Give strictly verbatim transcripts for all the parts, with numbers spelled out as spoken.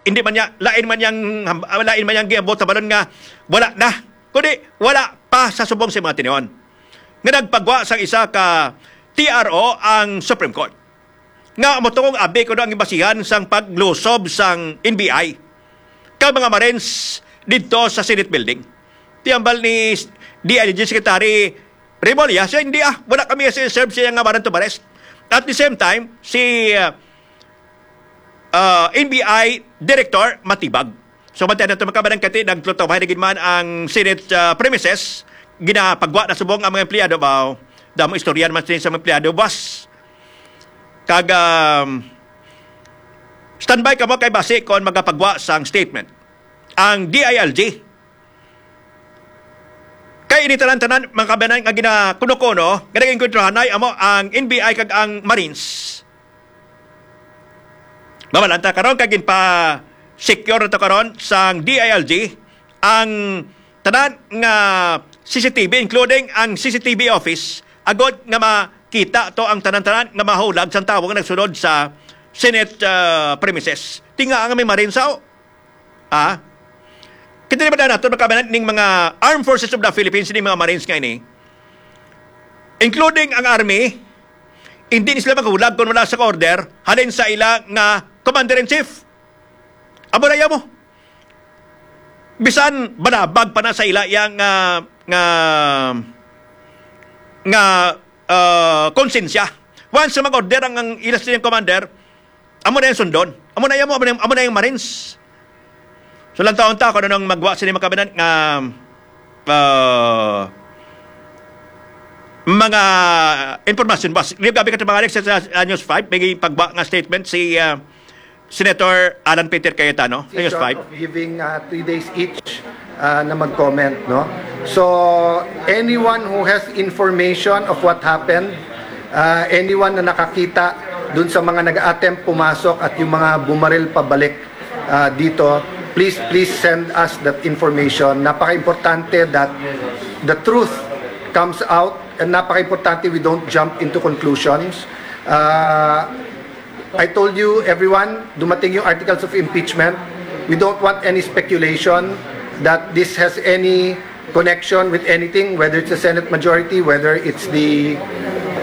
hindi man niya, lain man yang, lain man yang giabot sa balon nga wala na, kundi wala pa sa subong sa mga tinuon nga nagpagwa sang isa ka T R O ang Supreme Court nga motuong abi kuno ang basihan sang paglusob sang N B I kag mga Marines didto sa Senate Building. Ti hambal ni D I L G Secretary Remulla, siya, "Hindi, ah, wala kami kasi serve siya nga warrant of arrest." At the same time, si, ah, ah, N B I Director Matibag. So, bantayan nato, mga kababayan, kay nagtutubay na gid man ang Senate, ah, premises. Ginapagwa na subong ang mga empleyado ba? Damo istorya naman sini sa mga empleyado, boss. Kag, um, standby kamo kay basi kon magapagwa sang statement ang D I L G. Kay ini tanan-tanan, mga kababayan, nga ginakuno-kuno, nga nag-enkwentro hanay amo ang N B I kag ang Marines. Mamalanta karon kay ginpa-secure na to karon sang D I L G ang tanan nga C C T V, including ang C C T V office, agod nga makita to ang tanan-tanan nga mahulag sang tawo nga nagsulod sa Senate, ah, premises. Tinga nga may Marines, oh. Ah? Kita di ba na nato, mga kababayan, ning mga Armed Forces of the Philippines, ning mga Marines nga ini, including ang Army, hindi ni sila maghulag kung wala sa order halin sa ila nga Commander-in-Chief. Amo na mo. Bisan banabag pa na sa ila yang, ah, nga, nga, ah, konsensya. Once mag-order ang, ang ila sining commander, amo na yung sundon. Amo na yung, amo na yung, amo na yung Marines. So, lang taon ta kung anong magwa sila, mga kababayan, nga, ah, mga impormasyon. Bas, gabi ka, mga Alex, sa, sa News five, may pagwa nga statement si, ah, Senator Alan Peter Cayetano, News Decision five. Of giving, uh, three days each, uh, na mag-comment, no? So, anyone who has information of what happened, uh, anyone na nakakita dun sa mga nag-attempt pumasok at yung mga bumaril pabalik, uh, dito, please, please send us that information. Napaka-importante that the truth comes out, and napaka-importante we don't jump into conclusions. Uh, I told you, everyone, dumating yung articles of impeachment. We don't want any speculation that this has any connection with anything, whether it's the Senate majority, whether it's the,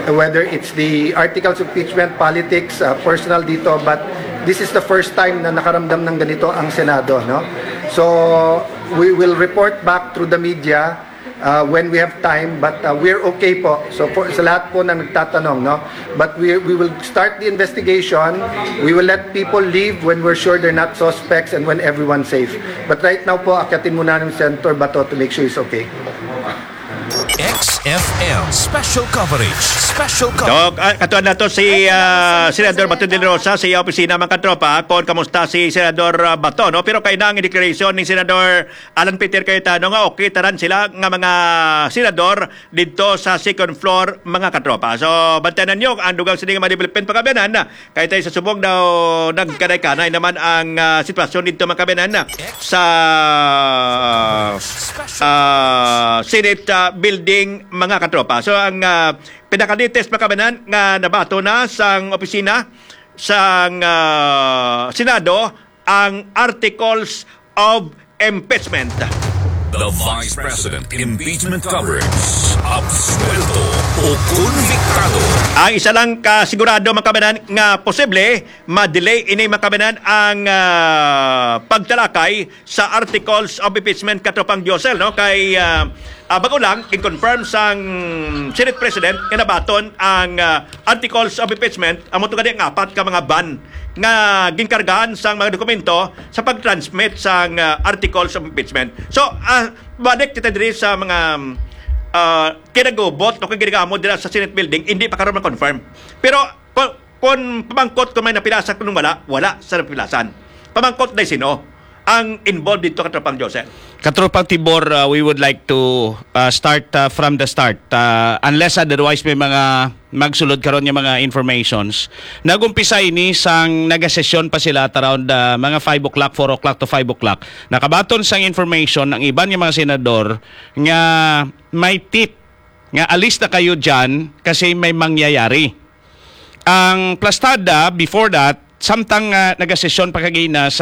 whether it's the articles of impeachment, politics, uh, personal dito. But this is the first time na nakaramdam ng ganito ang Senado, no? So, we will report back through the media uh, when we have time, but, uh, we're okay po. So, for, sa lahat po na nagtatanong, no? But we, we will start the investigation. We will let people leave when we're sure they're not suspects and when everyone's safe. But right now po, akyatin muna ng Senator Bato to make sure he's okay. X F M Special Coverage. Special Coverage. Dok, ah, katuan nato si, ah, Senador Bato de la Rosa sa iya opisina, mga katropa, kung kamusta si Senador, ah, Bato, no? Pero kay na ang declaration ni Senador Alan Peter Cayetano nga okay tanan sila nga mga senador didto sa second floor, mga katropa. So, bantayan ninyo ang dugang sini nga mga development, mga kababayan, kay tayo sa subong daw nagkanay-kanay naman ang, ah, sitwasyon didto, mga kababayan, sa, ah, Senate, ah, building, mga katropa. So, ang, ah, pinaka-latest, mga kababayan, nga nabato na sang opisina sang, ah, Senado ang articles of impeachment. The Vice President Impeachment Coverage. Absuelto o konbiktado. Ang isa lang ka sigurado, mga kababayan, nga posible ma-delay ini, mga kababayan, ang, ah, pagtalakay sa articles of impeachment, katropang Josel, no? Kay, ah, ah, bago lang, in-confirm sang Senate President nga nabaton ang, ah, articles of impeachment, amo to gani ang apat ka mga van nga ginkargahan sang mga dokumento sa pag-transmit sang, ah, articles of impeachment. So, ah, balik kita diri sa mga, ah, kinagubot o kinagamot dira sa Senate building, hindi pa karon ma-confirm. Pero kung, kung pamangkot kung may napilasa, kung wala, wala sa napilasan. Pamangkot na sino ang involved dito, katropang Joseph? Katropang Tibor, uh, we would like to, uh, start, uh, from the start. Uh, unless otherwise may mga magsulod karon nga mga informations. Nag-umpisa ini sang nagasesyon pa sila at around, uh, mga five o'clock, four o'clock to five o'clock. Nakabaton sang information ang iban nga mga senador nga may tip nga alis na kayo dyan kasi may mangyayari. Ang plastada, before that, samtang, ah, nagasesyon pa kagina sa